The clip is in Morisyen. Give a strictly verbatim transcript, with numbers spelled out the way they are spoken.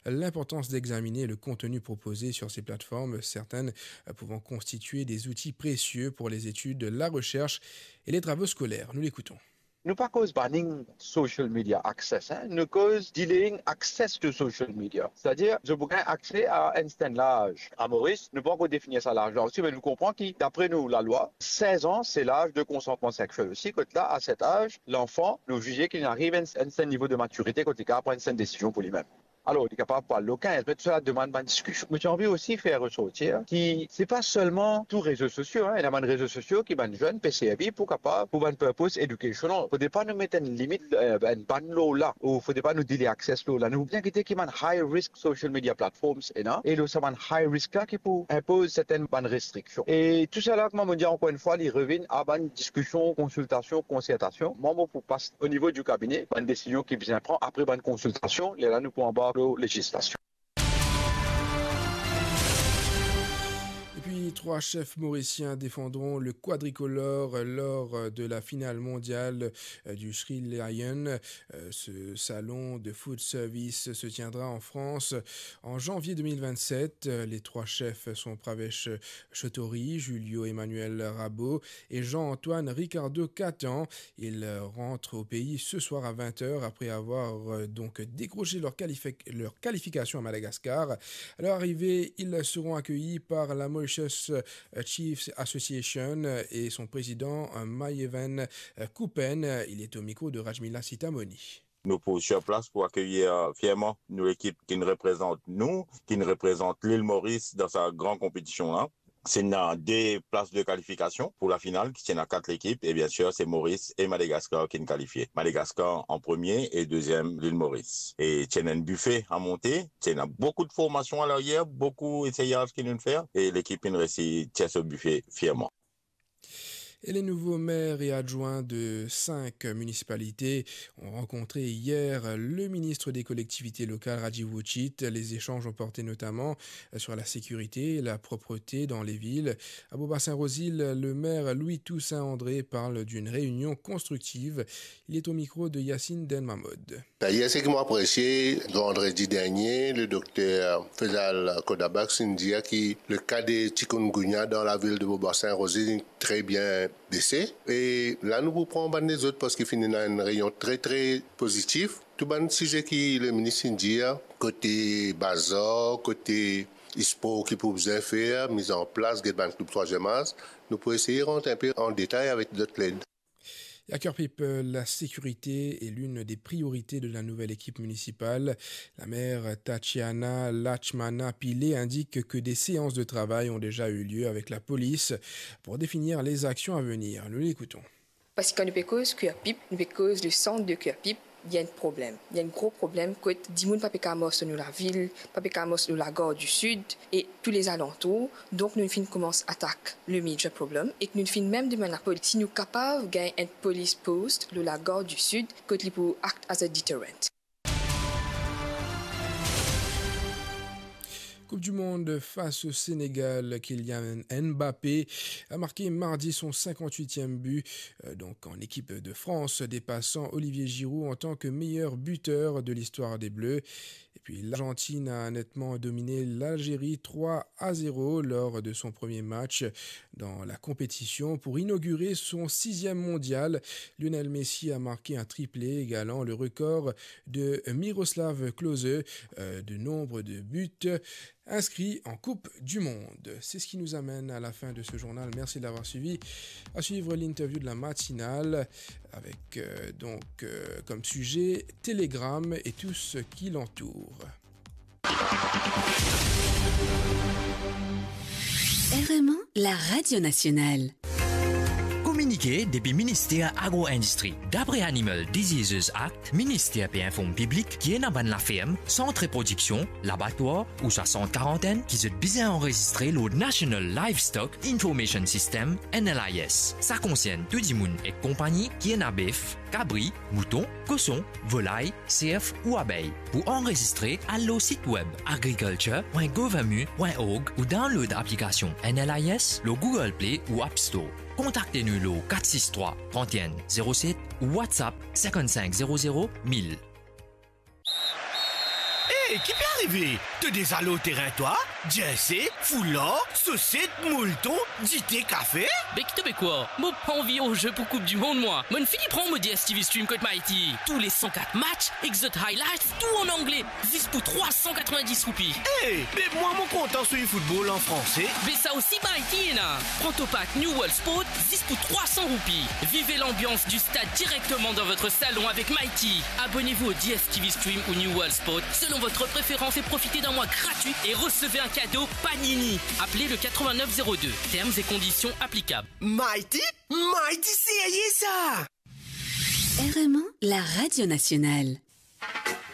l'importance d'examiner le contenu proposé sur ces plateformes, certaines, euh, pouvant constituer des outils précieux pour les études, la recherche et les travaux scolaires. Nous l'écoutons. Nou pa koz banning social media access, hein. Nou koz delaying access to social media. Setadir, zot pou gagn akse a enn sertenn laz. A Moris, nou pa ankor defini sa laz la osi, me nou konpran ki, dapre nou lalwa, sez an, se laz de konsantman sexiel osi, kot la, a set az, lanfan, nou zize ki li ariv enn, enn sertenn nivo de matirite, kot li kapav pran enn sertenn desizion pou limem. Alor, li kapav pou al lo kinz, me tou sa la demann bann diskision. Mo ti anvi osi fer resortir ki se pa selman tou rezo sosio, hein, ena bann rezo sosio ki bann zenn pe servi pou kapav, pou bann purpose educational. Fode pa nou met enn limit, eh, enn ban lor la, ou fode pa nou delay access lor la. Nou bizin gete ki bann high risk social media platforms ena, e lor sa bann high risk la ki pou inpoz sertenn bann restriksion. E tou sa la, kouma mo dir ankor enn fwa, li revinn a bann diskision, konsiltasion, konsertasion. Mwa, mo pou pas o nivo di kabine, bann desizion ki bizin pran apre bann konsiltasion, lerla nou pou anbark lor lezislasion. Et puis, trois chefs mauriciens défendront le quadricolore lors de la finale mondiale du Sri Lion. Ce salon de food service se tiendra en France en janvier deux mille vingt-sept. Les trois chefs sont Pravesh Chotori, Julio Emmanuel Rabo et Jean-Antoine Ricardo Catan. Ils rentrent au pays ce soir à vingt heures après avoir, euh, donc décroché leur qualifi-, leur qualification à Madagascar. À leur arrivée, ils seront accueillis par la Mauritius, euh, Chiefs Association et son président, euh, Mayevan, euh, Kupen. Il est au micro de Rajmila Sitamoni. Nou pou sur plas pou akeyir, euh, fierman nou lekip ki'nn reprezant nou, ki'nn reprezant Lil Moris dan sa gran konpetision la. Ti ena de plas de kalifikasion pou lafinal, ki ti ena kat lekip, e biensir, se Moris e Madagaskar ki'nn kalifie. Madagaskar an premie e deziem, Lil Moris. E ti ena enn bife a monte, ti ena boukou de formasion a laryer, boukou eseyaz ki nou'nn fer, e lekip inn resi tir so bife fierman. Et les nouveaux maires et adjoints de cinq municipalités ont rencontré hier le ministre des Collectivités locales, Rajiv Uchit. Les échanges ont porté notamment sur la sécurité et la propreté dans les villes. À Beaubassin-Rouzile, le maire Louis Toussaint André parle d'une réunion constructive. Il est au micro de Yacine Delmamod. D'ailleurs, ce qui m'a apprécié, vendredi dernier, le docteur Faisal Kodabak inn dir ki le cas de chikungunya dans la ville de Beaubassin-Rouzile est très bien baissé. E la, nou pou pran bann lezot parski finn ena enn reyon tre, tre pozitif. Tou bann size ki le minis inn dir, kote bazar, kote spor ki pou bizin fer, miz an plas, get bann klib trwaziem az, nou pou eseye rant enpe an detay avek dot led. Et à Curepipe, la sécurité est l'une des priorités de la nouvelle équipe municipale. La maire Tatiana Lachmana Pillay indique que des séances de travail ont déjà eu lieu avec la police pour définir les actions à venir. Nous l'écoutons. Parski kan nou pe koz Curepipe, nou pe koz le sant de Curepipe, li ena enn problem. Li ena enn gro problem kot dimoun pa pe kapav mars lor nou lavil, pa pe kapav mars lor Lagare di Sid e tou lezalantour. Donk, nou finn koumans atak le major problem ek nou finn mem demann lapolis si nou kapav gagn enn police post lor Lagare di Sid kot li pou act as a deterrent. Coupe du Monde, face au Sénégal, Kylian Mbappé a marqué mardi son cinquante-huitième but, euh, donc en équipe de France, dépassant Olivier Giroud en tant que meilleur buteur de l'histoire des Bleus. Et puis l'Argentine a nettement dominé l'Algérie trois à zéro lors de son premier match dans la compétition. Pour inaugurer son sixième mondial, Lionel Messi a marqué un triplé, égalant le record de Miroslav Klose, euh, de nombre de buts inscrits en Coupe du Monde. C'est ce qui nous amène à la fin de ce journal. Merci de l'avoir suivi. À suivre l'interview de la matinale avec, euh, donc, euh, comme sujet Telegram et tout ce qui l'entoure. R M A, la radio nationale. Kominike depi Minister Agro-Indistri. Dapre Animal Diseases Act, minister pe inform piblik ki ena bann laferm, sant reprodiksion, labatwar ouswa sant karantenn ki zot bizin anrezistre lor National Livestock Information System, N L I S. Sa konsern tou dimoun ek konpagni ki ena bef, kabri, mouton, koson, volay, serf ou abey. Pou anrezistre, al lor sit web agriculture point gouv mu point org ou download aplikasion N L I S lor Google Play ou App Store. Kontakte nou lor kat sis trwa, trant enn, zero set ou WhatsApp sinkant sink zero zero mil. E ki pe arive? To deza lor terin twa? Jersey, foular, soset, molton, dite, kafe? Be ki to pe krwar? Mo pa anvi ar zwe pou Koup di Mond, mwa. Mo'nn fini pran mo D S T V Stream kot Mighty. Tou le san kat match ek zot highlights, tou an angle, zis pou trwa san katrovin-dis roupi. E, be mwa mo kontan swiv foutbol an franse. Be sa osi Mighty ena. Pran to pack New World Sport zis pou trwa san roupi. Vivez l'ambiance du stade directement dans votre salon avec Mighty. Abonnez-vous au D S T V Stream ou New World Sport selon votre préférence et profitez d'un mois gratuit et recevez un cadeau Panini. Appelez le quatre-vingt-neuf zéro deux. Termes et conditions applicables. Mighty? Mighty serye sa! R M un, la radio nationale.